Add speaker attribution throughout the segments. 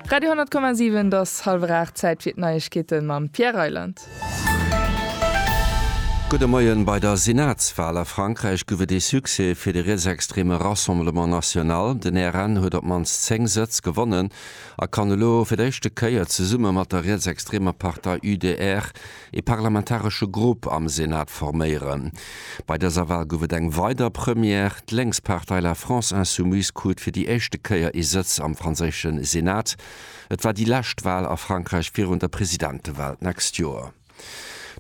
Speaker 1: Radio 10,7 Et ass hallwer 8, Zäit fir d'Neiegkeete mam Pierre Reyland.
Speaker 2: Gudde Moien. Bei der Senatswal a Frankräich gouf et ee Succès fir de rietsextreme Rassemblement National. Den RN huet op d'mannst 10 Sëtz gewonnen a kann elo fir d'éischte Kéier zesumme mat der rietsextremer Partei UDR ee parlamentaresche Grupp am Senat forméieren. Bei dëser Wal gouf et eng weider Première, D'Lénkspartei La France Insoumise krut fir déi éischte Kéier ee Sëtz am franséische Senat. Et war déi lescht Wal a Frankräich virun der Presidentewal d'nächst Joer.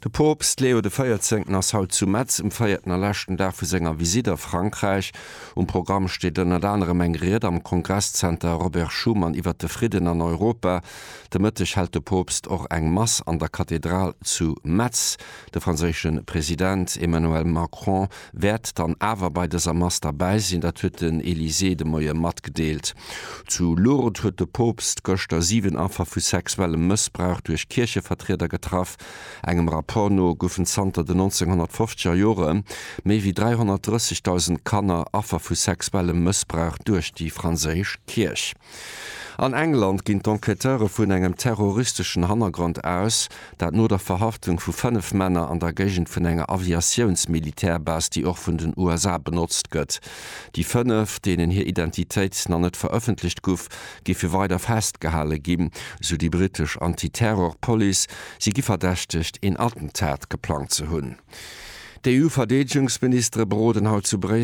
Speaker 2: De Poopst Leo de Véierzéngten ass haut zu Metz um véierten a leschten Dag vu senger Visitt a Frankräich. Um Programm steet ënnert anerem eng Ried am Kongresszenter Robert Schuman iwwert de Fridden an Europa. De Mëtteg hält de Poopst och eng Mass an der Kathedral zu Metz. De franséische President Emmanuel Macron wäert dann awer bei dëser Mass derbäi sinn, dat huet den Elysée de Moie matgedeelt. Zu Lourdes huet de Poopst gëschter 7 Affer vu sexuellem Mëssbrauch duerch Kierchevertrieder getraff. Engem Rapport no goufen zanter den 1950er Jore méi wéi 330.000 Kanner Affer vu sexuellem Mëssbrauch duerch déi franséisch Kierch. An England ginn d'Enquêteure vun engem terroristeschen Hannergrond aus, dat no der Verhaftung vu 5 Männer an der Géigend vun enger Aviatiouns-Militärbase, déi och vun den USA benotzt gëtt. Déi 5, deenen hir Identitéit nach net verëffentlecht guff, géife weider festgehale ginn, sou déi brittesch Anti-Terror-Police. Si gi verdächtegt, een Attentat geplangt ze hunn. D'EU-Verdeedegungsministere beroden haut zu Bréissel.